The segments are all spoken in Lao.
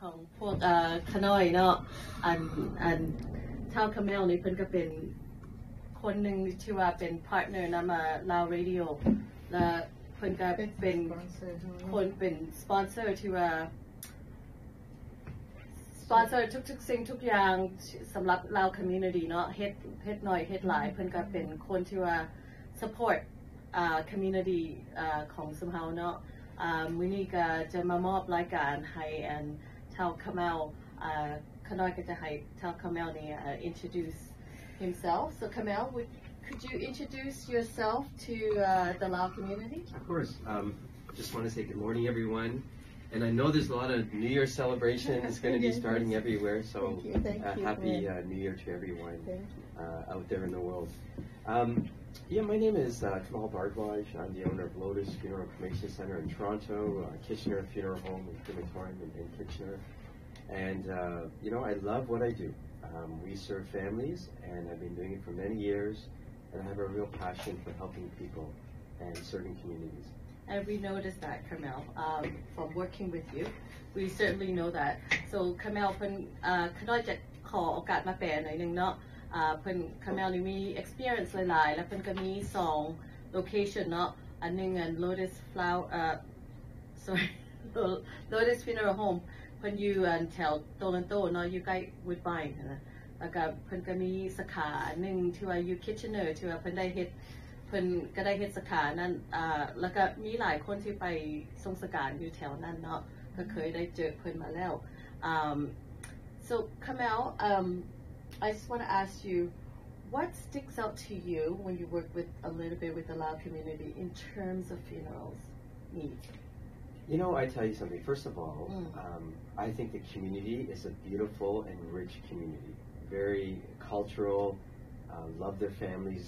ຂອງພວກ ເອີ ຂ້ານ້ອຍເນາະ ອັນ ອັນທ້າວຄາແມວນີ້ເພິ່ນກໍເປັນຄົນໜຶ່ງທີ່ວ່າເປັນພາດເນີນຳ ເອີ ລາວເຣດິໂອ ແລະເພິ່ນກໍເປັນ ເປັນສະປອນເຊີ ຄົນເປັນສະປອນເຊີທີ່ວ່າ ສະປອນເຊີທຸກໆສິ່ງທຸກຢ່າງສຳລັບລາວຄອມມູນິຕີເນາະ ເຮັດ ເຮັດໜ້ອຍເຮັດຫຼາຍ ເພິ່ນກໍເປັນຄົນທີ່ວ່າ ສະພອດ ອ່າ ຄອມມູນິຕີ ອ່າ ຂອງຊຸມເຮົາເນາະ. ອ່າ ມື້ນີ້ກໍຈະມາມອບລາຍການໃຫ້ ອັນ ທ້າວຄາແມວ ອ່າ ຂ້ານ້ອຍກໍຈະໃຫ້ທ້າວຄາແມວນີ້ uh, introduce himself. So Kamel, would, could you introduce yourself to, uh, the Lao community? Of course. Um, just want to say good morning, everyone. And I know there's a lot of New Year celebrations going to be starting everywhere. So, uh, happy, uh, New Year to everyone, uh, out there in the world. Um, yeah, my name is, uh, Kamel Bhardwaj. I'm the owner of Lotus Funeral Cremation Center in Toronto, uh, Kitchener Funeral Home and Crematorium in, in Kitchener. And, uh, you know, I love what I do. Um, we serve families, and I've been doing it for many years, and I have a real passion for helping people and serving communities. And we noticed that, Kamel, um, from working with you. We certainly know that. So, Kamel ເພິ່ນ ເອີ ຂ້ານ້ອຍຈະຂໍໂອກາດມາແປໜ້ອຍໜຶ່ງເນາະ. ເອີ ເພິ່ນ ຄາແມວນີ້ມີ experience ຫຼາຍໆ ແລ້ວເພິ່ນກໍມີສອງ location ເນາະ ອັນໜຶ່ງ ອັນ Lotus Flower ເອີ sorry Lotus Funeral Home ເພິ່ນຢູ່ ອັນ ແຖວ Toronto ເນາະ ຢູ່ໃກ້ Woodbine ຫັ້ນນະ. ແລ້ວກໍເພິ່ນກໍມີສາຂາໜຶ່ງທີ່ວ່າຢູ່ Kitchener ທີ່ວ່າເພິ່ນໄດ້ເຮັດ ເພິ່ນກໍໄດ້ເຮັດສາຂານັ້ນ ອ່າ ແລ້ວກໍມີຫຼາຍຄົນທີ່ໄປສົ່ງສະການຢູ່ແຖວນັ້ນເນາະ ກໍເຄີຍໄດ້ເຈີເພິ່ນມາແລ້ວ. Um, so Kamel, um, I just wanna ask you, what sticks out to you when you work with, a little bit with the Lao community in terms of funerals needs? You know, I tell you something. First of all, um, I think the community is a beautiful and rich community. Very cultural, uh, love their families,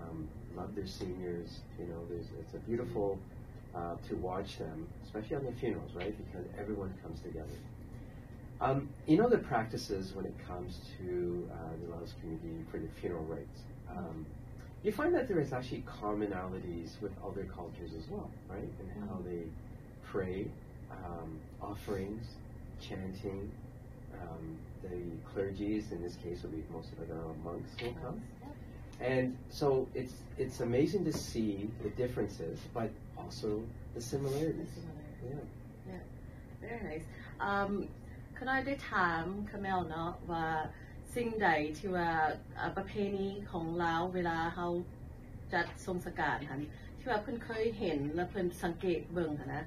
um, love their seniors. You know, there's, it's a beautiful, uh, to watch them, especially on the funerals, right? Because everyone comes together. Um, you know, the practices when it comes to, uh, the Laos community for the funeral rites, um, you find that there is actually commonalities with other cultures as well, right? And how they pray, um, offerings, chanting, um, the clergies, in this case, would be most of the monks will come. And so it's, it's amazing to see the differences, but also the similarities. Yeah. Yeah. Very nice. Um, ຂ້ານ້ອຍໄດ້ຖາມຄາແມວເນາະວ່າ ສິ່ງໃດທີ່ວ່າ ເອີ ປະເພນີຂອງລາວເວລາເຮົາຈັດສົ່ງສະການຫັ້ນ ທີ່ວ່າເພິ່ນເຄີຍເຫັນ ແລະ ເພິ່ນສັງເກດເບິ່ງຫັ້ນນະ.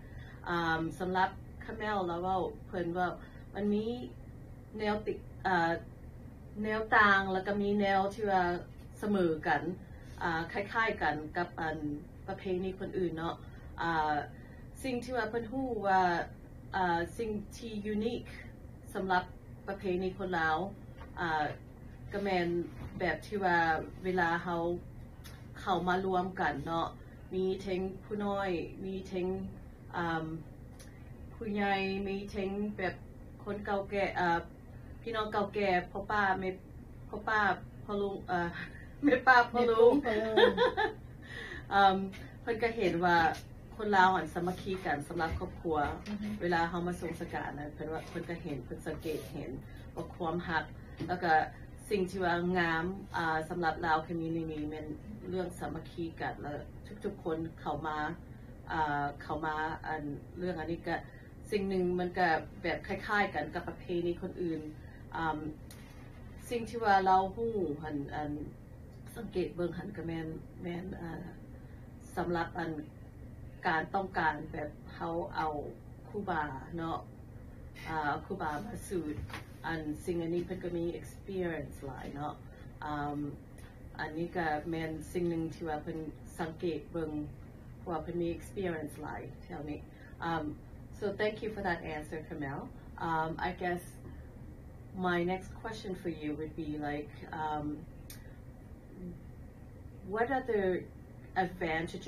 ອ່າ ສຳລັບຄາແມວລາວເວົ້າ ເພິ່ນເວົ້າມັນມີແນວຕິ ເອີ ແນວຕ່າງ ແລ້ວກໍມີແນວທີ່ວ່າສະເໝີກັນ ອ່າ ຄ້າຍໆກັນກັບ ອັນ ປະເພນີຄົນອື່ນເນາະ. ອ່າ ສິ່ງທີ່ວ່າເພິ່ນຮູ້ວ່າ ອ່າ ສິ່ງທີ່ unique ສຳລັບປະເພນີຄົນລາວ ອ່າ ກໍແມ່ນແບບທີ່ວ່າເວລາເຮົາເຂົ້າມາລວມກັນເນາະ ມີເທັງຜູ້ນ້ອຍ ມີເທັງ ອ່າ ຜູ້ໃຫຍ່ ມີເທັງແບບຄົນເກົ່າແກ່ ອ່າ ພີ່ນ້ອງເກົ່າແກ່ ພໍ່ປ້າແມ່ ພໍ່ປ້າພໍ່ລຸງ ເອີ ແມ່ປ້າພໍ່ລຸງ ແມ່ປ້າພໍ່ລຸງ ເອີ ເພິ່ນກໍເຫັນວ່າ ຄົນລາວຫັ້ນສາມັກຄີກັນສຳລັບຄອບຄົວ. ເວລາເຮົາມາສົ່ງສະການນະ ເພິ່ນວ່າ ເພິ່ນກໍເຫັນ ເພິ່ນສັງເກດເຫັນວ່າຄວາມຮັກ ແລ້ວກໍສິ່ງທີ່ວ່າງາມ ອ່າ ສຳລັບລາວ community ແມ່ນເລື່ອງສາມັກຄີກັນ ແລ້ວທຸກໆຄົນເຂົ້າມາ ອ່າ ເຂົ້າມາ ອັນ ເລື່ອງອັນນີ້ກໍ ສິ່ງໜຶ່ງມັນກໍແບບຄ້າຍໆກັນກັບປະເພນີຄົນອື່ນ. ອ່າ ສິ່ງທີ່ວ່າລາວຮູ້ຫັ້ນ ອັນ ສັງເກດເບິ່ງຫັ້ນກໍແມ່ນ ແມ່ນ ອ່າ ສຳລັບ ອັນ ການຕ້ອງການແບບເຮົາເອົາຄູບາເນາະ ອ່າ ຄູບາມາສູດ ອັນ ສິ່ງອັນນີ້ເພິ່ນກໍມີ experience ຫຼາຍເນາະ. ອ່າ ອັນນີ້ກໍແມ່ນສິ່ງໜຶ່ງທີ່ວ່າເພິ່ນສັງເກດເບິ່ງ ເພາະວ່າເພິ່ນມີ experience ຫຼາຍແຖວນີ້. Um, so thank you for that answer, Kamel. Um, I guess my next question for you would be, like, um, what other advantages